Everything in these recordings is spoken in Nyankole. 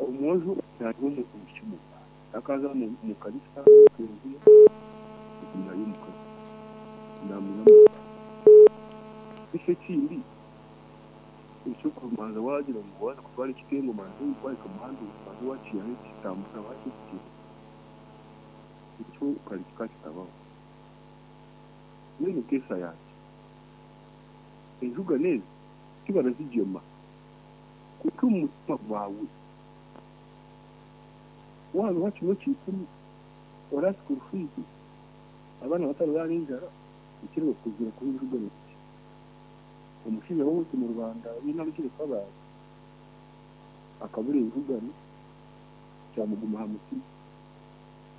Omwojo nari omu kibuga takaza omu kanisa omu kereziya nari omukazi namwihamu. Eki ekindi ekyokubanza wagira ngu waaza kutwara ekitengo obanze wahika omu muhanda obanze wakiihaho ekitambura wakyetegyereza ekyo kare kikaba kitabaho. Mbwenu enteesa yangye enjugano ezi tibarazigyema kwonka omu mutima gwawe waabiha kimwe kya ikumi ora school fees abaana batararaara enjara ekiriba kukuzira kuha enjugano niki? Omushaija w'owaitu omu Rwanda weena arugire Kabale akabura enjugano kyamuguma aha mutima.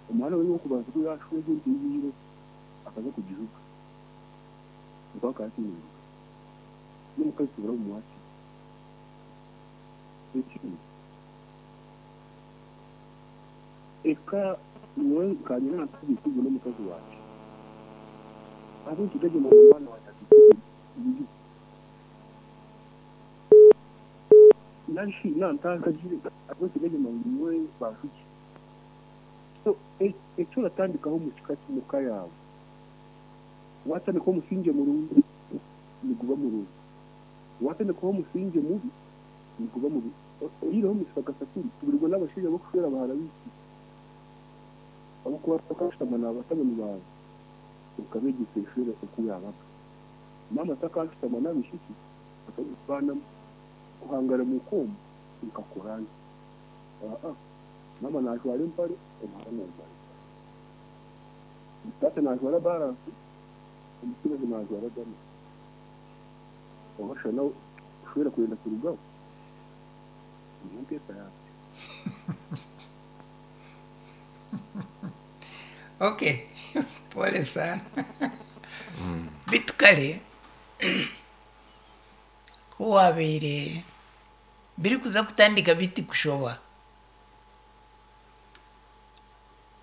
Omwana we w'okubanza ku yaashweza ente ei yaireho akaza kugijuga nikwo akaba ataine njugano. N'omukazi tibaramumwakira. Ekindi, eka nyowe nkanye nantagiikirize n'omukazi wangye ahabw'enki ndagyenda ngu omwana wangye ataikirize bibi? Nari shi nantangagire ahabw'enki ndagyenda ngu nyowe banjugye? So eki oratandikaho omu kika omu ka yaawe, waatandikaho omusingye murungi niguba murungi, waatandikaho omusingye mubi niguba mubi. Oyihireho Mister Kasakuli, tuburirwe n'abashaija b'okushwera bahara baitu ahabw'okuba bakashutama na batabani baawe okabeegyesa eshwera oku yaabaga. Maama takashutama n'abaishiki atarikubaanamu kuhangara muka omu nkakora nta? Aa, maama naajwara empare, omuhara naajwara empare. Taata naajwara baransi, omutsigazi naajwara gomesi. Oba shana kushwera kwenda kurugaho, niyo nteesa yangye. Okay, pole sana. Beitu kare ku waabaire birikuza kutandika biti kushoba,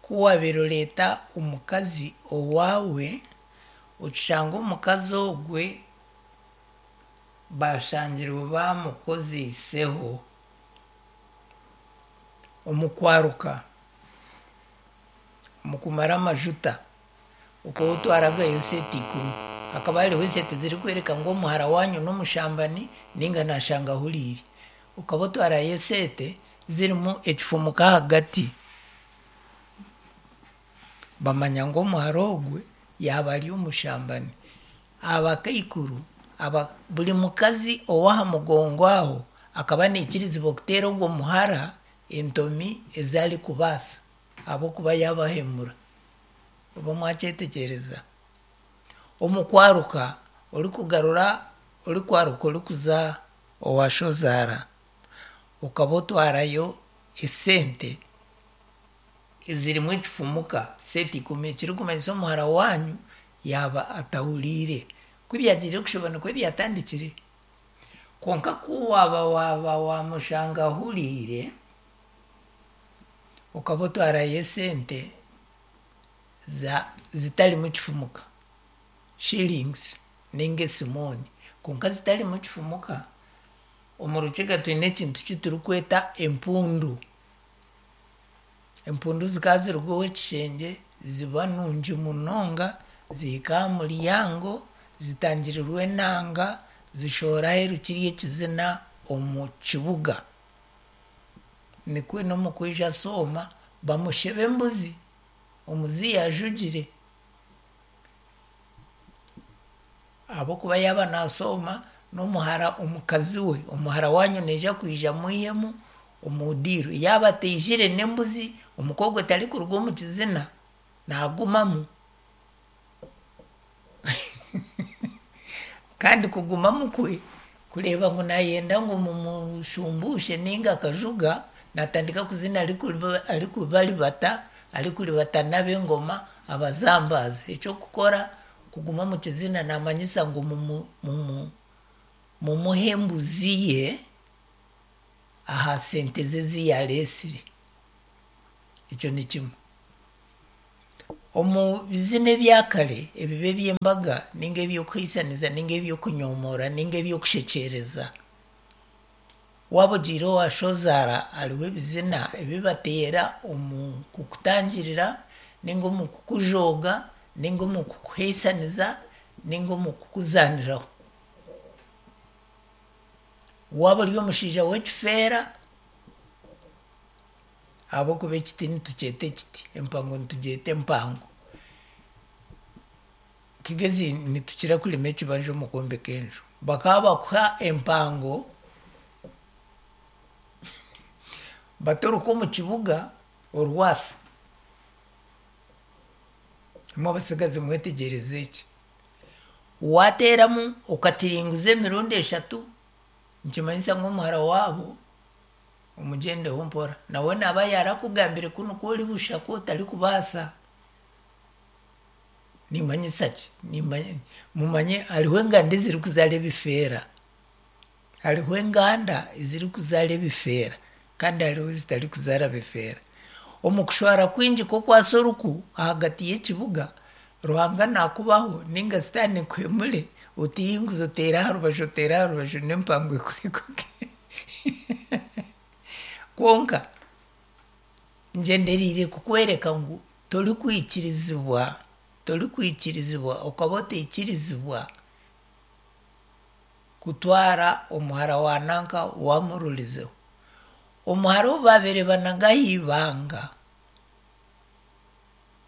ku waabaire oreeta omukazi owaawe, okishanga omukazi ogwe bashangirwe bamukozeiseho omu kwaruka, omu kumara amajuta, okaba otwaragayo sente ikumi. Hakaba hariho esente zirikworeka ngu omuhara waanyu n'omushambani nainga naashanga ahuriire. Okaba otwarayo esente zirimu ekifumuko ahagati. Bamanya ngu omuhara ogwe yaaba ari omushambani. Abakaikuru aba buri mukazi ow'aha mugongo aho akaba naikirizibwa kuteera ogwo muhara entomi ezi arikubaasa ahabw'okuba yaabahemura. Oba mwakyetegyereza? Omu kwaruka orikugarura orikwaruka orikuza owa shozaara okaba otwarayo esente ezirimu ekifumuka sente ikumi ekirikumanyisa omuhara waanyu yaaba atahuriire. Ku byagiire kushoba nikwo byatandikire. Kwonka ku waaba waaba waamushanga ahuriire, okaba otwarayo esente za zitarimu kifumuka, shillings nainga esimooni, kwonka zitarimu kifumuka, omu Rukiga twine ekintu ki turikweta empundu. Empundu zikaba ziruga ow'ekishengye ziba nungi munonga, zihika aha muryango, zitangirirwa enanga, zishohora aheeru kiri ekizina omu kibuga. Nikwo n'omu kwija asooma bamusheba embuzi omu zi yaajugire. Ahabw'okuba yaaba naasooma n'omuhara omukazi we, omuhara waanyu naija kwija amwihemu omu diiro. Yaaba ataijire n'embuzi, omuka ogwo tarikuruga omu kizina, naagumamu. Kandi kugumamu kwe kureeba ngu naayenda ngu mumushumbuushe nainga akajuga, naatandika kuzina arikubaribata, arikuribata n'ab'engoma abazambaaza. Eky'okukora kuguma omu kizina naamanyisa ngu mumuhe embuzi ye aha sente ze ezi yaareetsire. Ekyo ni kimwe. Omu bizina ebya kare ebiba eby'embaga nainga eby'okuhaisaniza nainga eby'okunyomoora nainga eby'okushekyereza. Waaba ogiire owa shozaara hariho ebizina ebi bateera omu kukutangirira ninga omu kukujooga ninga omu kukuheisaniza ninga omu kukuzaaniraho. Waaba ori omushaija w'ekifeera, ahabw'okuba ekiti nitukyeta ekiti, empango nitugyeta empango. Kigezi nitukira kurima ekibanja omu kwombeka enju. Bakaba bakuha empango batoruka omu kibuga orwasa. Imwe abatsigazi mwetegyereze eki. Waateeramu okatiringuza emirundi eshatu, nikimanyisa ngu omuhara waabo omugyendeho mpora. Nawe naaba yaarakugambire kunu ku ori busha ku otarikubaasa. Nimanyisa ki? Mumanye hariho enganda ezirikuzaara ebifeera. Hariho enganda ezirikuzaara ebifeera kandi hariho ezitarikuzaara bifeera. Omu kushwara kwingi kw'okwasa oruku ahagati y'ekibuga, Ruhanga naakubaho ninga sitaane ekuhemure otiringuze oteere aha rubaju oteere aha rubaju n'empango ekurekuke. Kwonka ngyendereire kukworeka ngu torikwikirizibwa, torikwikirizibwa okaba otaikirizibwa kutwara omuhara wa nanka waamururizeho. Omuhara ou baabaire banaga aha ibanga,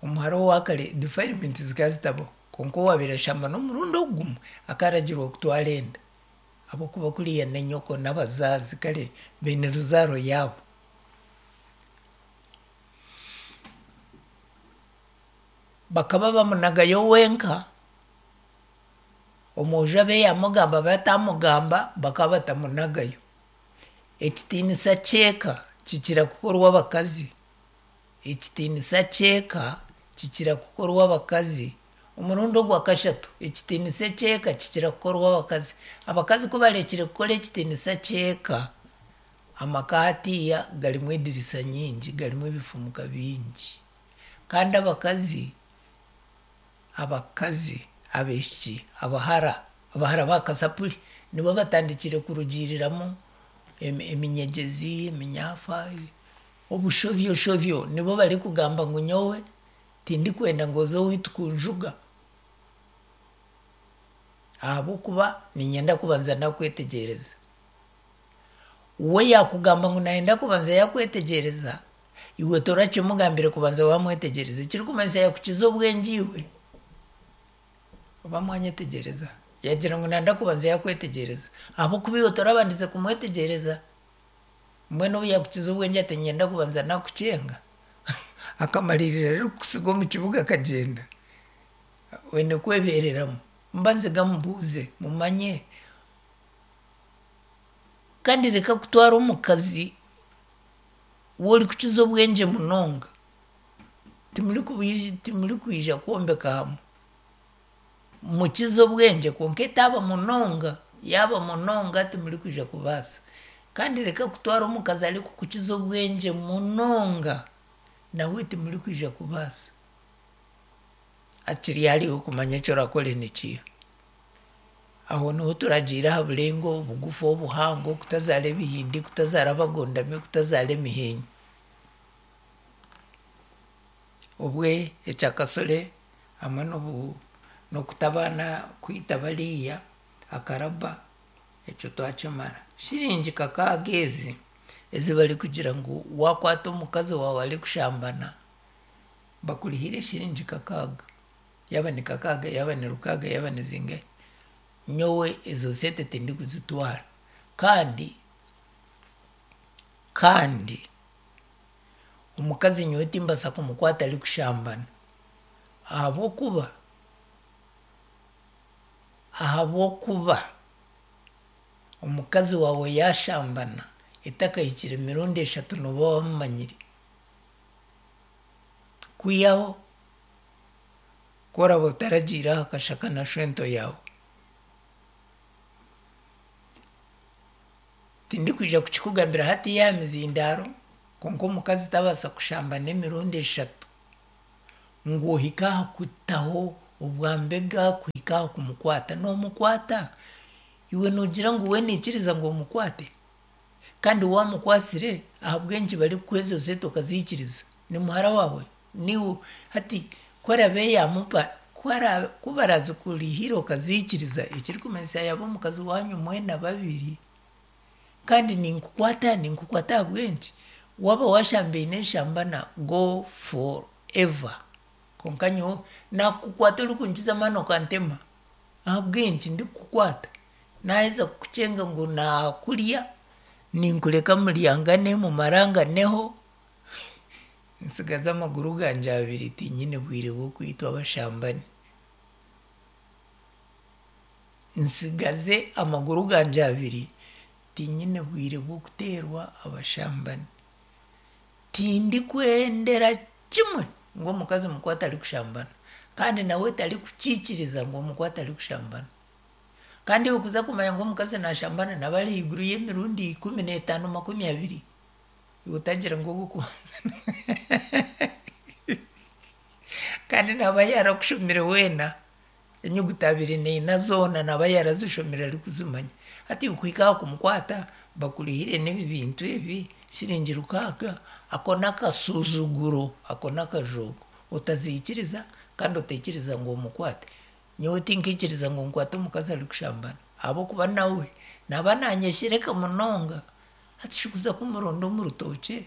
omuhara owa kare defilement zikaba zitabaho kwonka owaabaire ashambana omurundi ogu gumwe akaragirwa kutwara enda ahabw'okuba kuriya n'enyoko n'abazazi kare baine ruzaaro yaabo. Bakaba bamunagayo wenka, omwojo abe yaamugamba abe atamugamba bakaba batamunagayo. Ekitiinisa ky'eka kikira kukorwa abakazi. Ekitiinisa ky'eka kikira kukorwa abakazi. Omurundi ogwa kashatu, ekitiinisa eky'eka kikira kukorwa abakazi. Abakazi ku barekire kukora ekitiinisa ky'eka, amaka hatiiya garimu edirisa nyingi, garimu ebifumuka bingi. Kandi abakazi, abakazi, abaishiki, abahara, abahara ba kasapuri nibo batandikire kurugiiriramu eminyegyezi, eminyafa, obushobyoshobyo. Nibo barikugamba ngu nyowe tindikwenda ngu oze owaitu kunjuga ahabw'okuba niinyenda kubanza nakwetegyereza. We yaakugamba ngu naayenda kubanza yaakwetegyereza, iwe torakimugambire kubanza waamwetegyereza ekirikumanyisa yaakukiza obwengye iwe. Oba mwanyetegyereza? Yaagira ngu naayenda kubanza yaakwetegyereza ahabw'okuba iwe torabandize kumwetegyereza. Mbwenu obu yaakukiza obwengye ati niinyenda kubanza naakukyenga, akamariirira arikukutsiga omu kibuga akagyenda, oine kwebeereramu. Mbanze gamubuuze mumanye. Kandi reka kutwara omukazi ou orikukiza obwengye munonga, timurikwija kwombeka hamwe. Mukize obwengye kwonka etaaba munonga, yaaba munonga timurikwija kubaasa. Kandi reka kutwara omukazi arikukukiza obwengye munonga, nawe timurikwija kubaasa. Hakiri hariho kumanya eki orakore nikiiha. Aho niho turagiire aha burengo obugufu obuhango, kutazaara ebihindi, kutazaara abagondami, kutazaara emiheenyo. Obwe ekyakasore hamwe n'okuta abaana kwita bariya akaraba ekyo twakimara. Shiringi kakaaga ezi ezi barikugira ngu waakwata omukazi waawe arikushambana bakurihire shiringi kakaaga. Yaaba ni kakaaga, yaaba ni rukaaga, yaaba ni zingahi. Nyowe ezo sente tindikuzitwara kandi kandi omukazi nyowe timbaasa kumukwata arikushambana ahabw'okuba ahabw'okuba omukazi waawe yaashambana etakahikire emirundi eshatu nooba wamumanyire. Kwihaho ku oraba otaragiire aha kashaka na shwento yaawe. Tindikwija kukikugambira hatiiya aha mizindaaro kwonka omukazi tabaasa kushambana emirundi eshatu ngu ohike aha kutaho obwambega kuhika aha kumukwata. Noomukwata? Iwe noogira ngu we naikiriza ngu omukwate? Kandi waamukwasire ahabw'enki barikukuha ezo sente okaziikiriza? Ni muhara waawe? Niiwe hati ku araabe yaamupa ku ara ku barazikurihire okaziikiriza ekirikumanyisa yaaba omukazi waanyu mwena babiri. Kandi ninkukwata ninkukwata ahabw'enki? Waaba waashambaine enshambana go for ever. Kwonka nyowe naakukwata orikunkiza amaani okantema. Ahabw'enki ndikukukwata? Naaheza kukukyenga ngu naakurya, ninkureka muryangane mumaranganeho, ntsigaze amaguru gangye abiri tinyine bwire bw'okwitwa abashambani. Ntsigaze amaguru gangye abiri tinyine bwire bw'okuteerwa abashambani. Tindikwendera kimwe ngu omukazi mukwate arikushambana kandi nawe tarikukiikiriza ngu omukwate arikushambana. Kandi iwe kuza kumanya ngu omukazi naashambana naaba ari ahaiguru y'emirundi 15 20. Iwe otagira ngu ogw'okubanza kandi naaba yaarakushomire weena enyuguta 24 zoona naaba yaarazishomire arikuzimanya. Hati iwe kuhika aha kumukwata bakurihire n'ebi bintu ebi shiringi 600 ako n'akasuzuguro ako n'akajoogo. Otaziikiriza kandi otaikiriza ngu omukwate. Nyowe tinkaikiriza ngu nkwate omukazi arikushambana ahabw'okuba nawe naaba naanyeshereka munonga. Hati shi kuza kumuronda omu rutookye,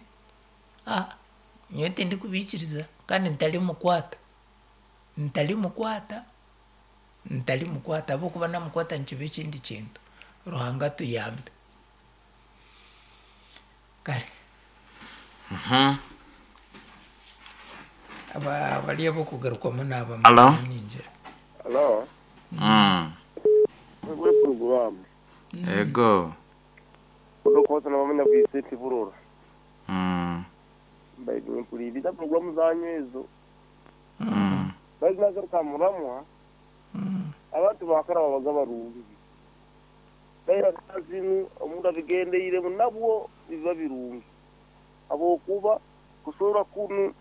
nyowe tindikubiikiriza kandi ntarimukwata. Ntarimukwata, ntarimukwata ahabw'okuba naamukwata nikiba ekindi kintu. Ruhanga atuyambe. Kare. Aba bari ab'okugarukwamu naaba Alo? ningira. Alo, Mwebale puroguraamu. Ego. Odokoza nabamanya bwise Burora. Mbaire nimpuriiriza puroguraamu zanyu ezo. Baitu nagaruka muramwa, abantu bakara babaga barungi. Baira zinu omuntu abigendeiremu nabwo biba birungi. Habwokuba kusoora kunu.